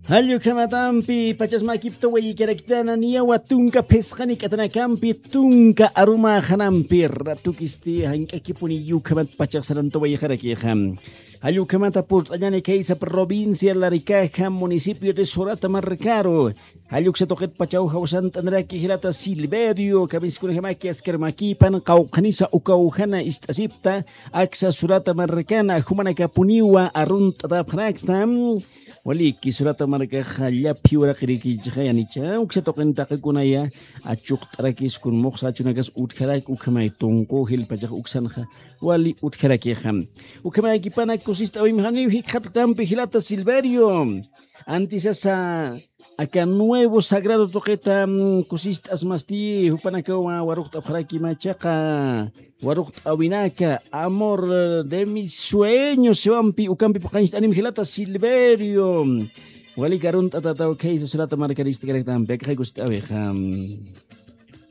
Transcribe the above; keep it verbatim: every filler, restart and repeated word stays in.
Jallukamatampi pachasmakipta wayikaraktana niyawa tunka phisqani k'atanakampi tunka arumaxanampi ratukisti jank'akipuni yukhamat pachaxsananta wayixarakixa. Jallukhamata purt'añani kaysa provincia Larikaja municipio de Sorata markaru. Jalluksa tuqit pachaw jawsant'anraki jilata Silverio kamiskunajamaki askar makipan qawqhanisa ukawjana ist'asipta aksa Sorata markana jumanakapuniwa arunt'atapxarakta. Waliki Sorata markaxa llaphi uraqirikichixayanicha uksa tuqin taqikunaya achuqt'arakis kun muxsa achunakas utjarak ukhamay tunqu jilpachax uksanxa wali utjarakixa. Ukhamayakipana kusist'awimxaniw jikxatatampi jilata Silverio. Antisasa aka nuevo sagrado tuqita kusist'asmasti jupanakawa waruqt'apxarakimachaqa waruqt'awinaka amor de mis sueños siwampi ukampi puqañcht'anim jilata Silverio. Wali karunt'atataw khaysa Sorata markaristikaraktampi akxay kusist'awixam.